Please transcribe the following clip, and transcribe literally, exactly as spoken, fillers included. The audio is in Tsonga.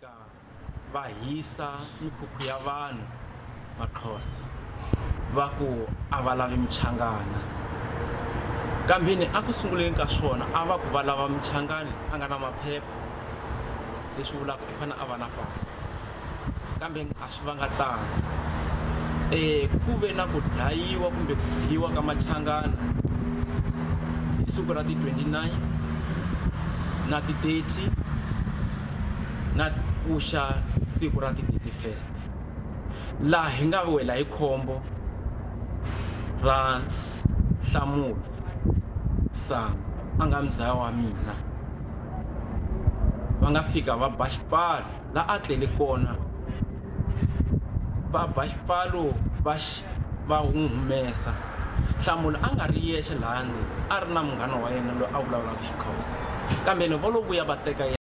fika va hisa mikhukhu ya vanhu Maxhosa va ku a va lavi Muchangana, kambeni a ku sunguleni ka swona a va ku va lava Muchangani a nga na maphepha, leswi vulaka i fanele a va na pasi, kambe a swi vanga tano. um ku ve na ku dlayiwa kumbe ku biwa ka Machangana hi siku ra ti twenty-nine na ti thirty na kuxa siku ra ti thirty-first, laha hi nga wela hi khombo ra Nhlamulo Sango a nga muzaya wa mina, va nga fika va ba xipfalo la a tlele kona, va ba xipfalo va va n'wi humesa. Nhlamulo a nga ri yexe laha ndzeni, a ri na munghana wa yena loyi a vulavulaka Xixhosa, kambe va lo vuya va teka yena.